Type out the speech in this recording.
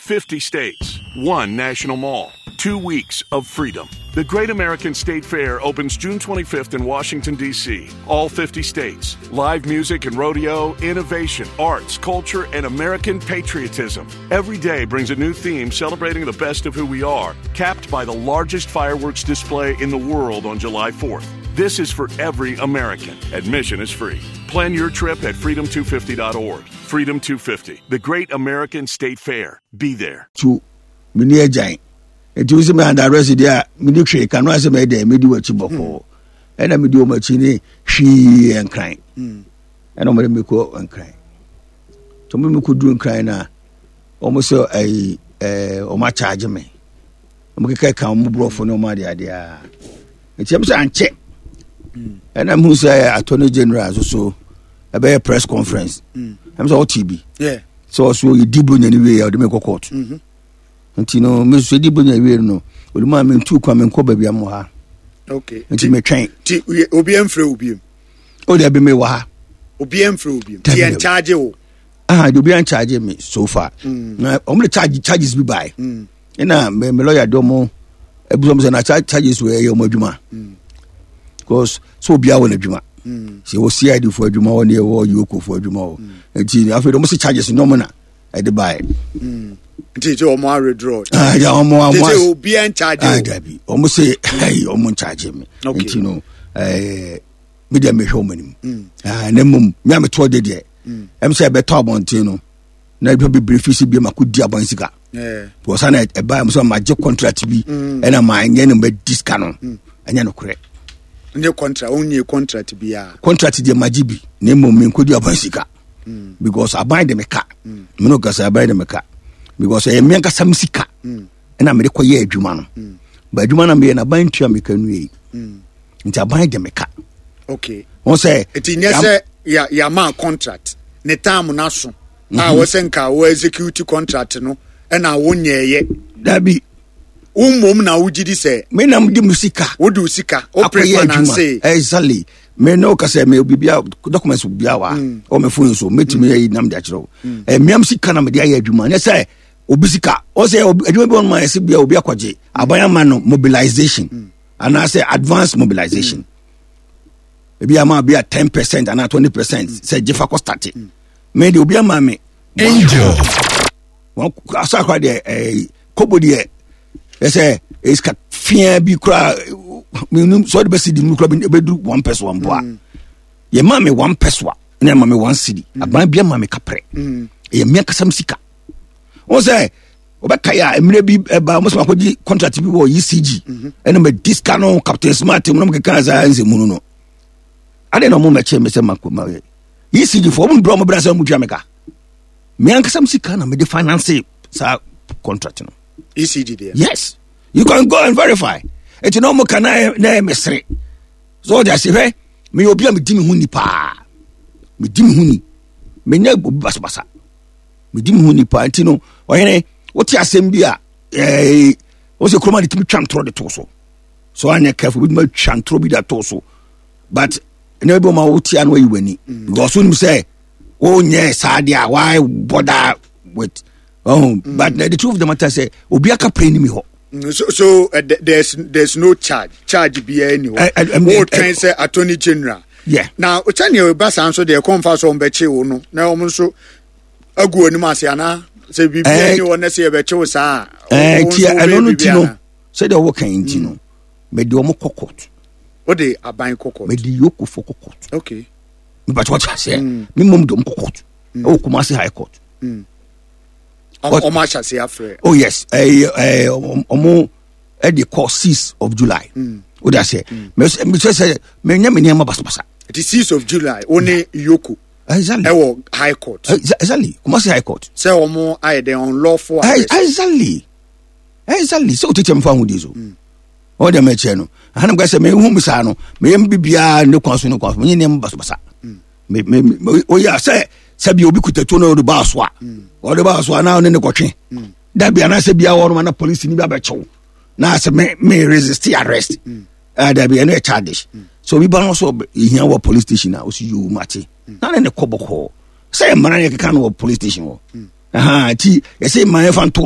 50 states, one national mall, 2 weeks of freedom. The Great American State Fair opens June 25th in Washington, D.C. All 50 states, live music and rodeo, innovation, arts, culture, and American patriotism. Every day brings a new theme celebrating the best of who we are, capped by the largest fireworks display in the world on July 4th. This is for every American. Admission is free. Plan your trip at freedom250.org. Freedom 250, the Great American State Fair. Be there. Tu meni agyan nti wosi me under arrest deɛ a meni hwee ka no asɛ mɛyɛ dɛn medi w'akyi bɔkɔɔ ɛna medi wɔn akyi ne hwii Nkran ɛna wɔn de me kɔ Nkran nti wɔn de me kɔ duru Nkran na wɔn sɛ ɛyi wɔn akyagye me, wɔn keka ka wɔn borɔfo ne wɔn ade ade a nti ɛm sɛ ankyɛ ɛna mu sɛ Attorney General nso so ɛbɛyɛ press conference. Ɛm sɛ ɔte bi sɛ ɔso yɛdi Bronya no wie a ɔde me kɔ court. Nti no me nso yɛdi Bronya wie no, ɔde mu a mentu kwan, menkɔ baabi a mowɔ ha. Nti metwɛn. Nti obi amfrɛ wo biom? O deɛ bi mewɔ ha. Obi amfrɛ wo biom, nti yɛnkyagye wo? Ah, de obi ancharge me so far. Na ɔmo de charges bi bae. Ɛna me lawyer de ɔmo ebi ɔmo sɛ na charges wɔ ɛyɛ ɔmo adwuma. Because so obiara wɔ n'adwuma. Sɛ wɔ CID fo adwuma wɔ ne ɛwɔ EOCO fo adwuma wɔ. Nti afei de ɔmo sɛ charges ne ɔmo na ɛde bae. Nti sɛ ɔmo awithdraw? Ah, ya ɔmo nti sɛ obiara ncharge Ah, dabi. Ɔmo sɛ ɛyi ɔmo ncharge me. Nti no me deɛ mehwɛ ɔmo anim. Ah, na mmom me a metoɔ de deɛ sɛ ɛbɛtɔ abɔnten no na nipa bebree fi si bi ma ko di aban sika because ana ɛba mu sɛ ma gye contract bi ɛna ma nyɛ no ma di sika no, ɛnyɛ no korɛ. Nye contract, wonye contract biara? Contract deɛ ma gye bi, na mmom me nkɔ di aban sika because aban de me ka. Me no kasa, aban de me ka because ɛyɛ me ankasa me sika ɛna mede kɔ yɛ adwuma no ba adwuma no meyɛ na aban ntua me ka nwie, nti aban de me ka. Wɔn sɛ Nti nyɛ sɛ yɛama contract ne time no aso a wɔsɛ nka wɔ execute contract no ɛna wonyɛɛyɛ? Dabi. Wo mmom na wogye di sɛ Me nam de me sika wode wo sika wo akɔyɛ adwuma. Pre-finance. Exactly. Me ne wo kasa me bibia documents bia wa ɔ me phone so metumi ayi nam de akyerɛ wo. Ɛmiam sika na mede ayɛ adwuma, nyɛ sɛ obi sika. Ɔsɛ adwuma bi wɔ no ma yɛsɛ bia obi akɔgye aban ama no mobilization anaasɛ advance mobilization, ebi ama bi a 10% anaa 20% sɛ gye fa kɔ start. Me de obi ama me Angel. Wɔn asa akora deɛ kobo deɛ ɛsɛ esika fia bi kora minnu sɛ ɔde bɛ si di mu kora bɛ du 1 pesewa mpo a yɛ maa mi 1 pesewa ɛna yɛ maa mi 1 cedi. Aban bi ama mi kaprɛ, ɛyɛ mmea kasam sika. Wɔn sɛ wɔbɛka yɛ a mmerɛ bi ɛba wɔn sɛ wakɔgye contract bi wɔ ECG ɛna mɛ di sika no Captain Smart mu na mo keka saa nsɛmunu no ade na wɔn mɛkyɛ mi sɛ ma ko ma yɛ ECG fo wɔn brɛ wɔn brɛ sɛ wɔn tua mi ka. Me ankasa mi sika na mi de finance saa contract no. ECG deɛ? Yes, you can go and verify. Eti na wɔn ka na yɛ mesere so ɔde ase hwɛ. Meyɛ obi a medi me ho ni paa, medi me ho ni, menyɛ obi basabasa, medi me ho ni paa. Nti no ɔhene wote asɛm bi a wɔsɛ kuroma de tumi twa ntorɔ de to so so anyɛ careful bi tumi twa ntorɔ bi de ato so, but ɛnna bi wɔn a wote ano ayi w'ani because wonim sɛ wonyɛ saa deɛ a why bother with oh. But the truth of the matter sɛ obi aka pere ni mi hɔ. So there's no charge biara ni hɔ? Wotwɛn sɛ Attorney General na sɛnea ɛba saa nso deɛ kɔnfa so ɔmbɛkye wo no na ɔmo nso agu anim ase anaa sɛ biribiara ni hɔ na sɛ yɛbɛkye wo saa a, wo nti nso wobɛyɛ ɛno no biribi ti no anaa? Sɛdeɛ wɔwɔ kan nti no mede ɔmo kɔ court. Wode aban kɔ court? Mede EOCO fo kɔ court. Mepakyɛ wɔte aseɛ, me mmom de ɔmo kɔ court ɛwɔ Kumasi High Court. Ɔmo ahyɛ ase afrɛ? Oh yes, ɛɛ ɛɛ ɔmo ɛde kɔ 6 of July. O de aseɛ mɛ sɛ mɛ nyɛ mi nneɛma basabasa. Nti 6 of July wo ne EOCO ɛwɔ High Court? Exactly, Kumasi High Court. Sɛ ɔmo ayɛ dɛn unlawful arrest? Exactly, sɛ o tete mu fa ho di so ɔwɔ deɛ mɛkyɛ no ahanam ka sɛ mehu mi saa no meyɛ mi bibiara ne kwan so ne kwan so menyɛ nneɛma basabasa. Me me me oyɛ sɛ sɛbi obi kuta tuo na ɔde baa so a ɔde baa so a na ɔne ne kɔtwe dabi anaasɛ bia wɔn na polisi ni bi abɛkyɛw na sɛ me resist arrest dabi, ɛno yɛ childish. So obi ba no so ehia wɔ police station a osi yoo mate na ne ne kɔ bɔkɔɔ sɛ mmara yɛ keka no wɔ police station hɔ ti yɛsɛ mmara yɛ fa nto.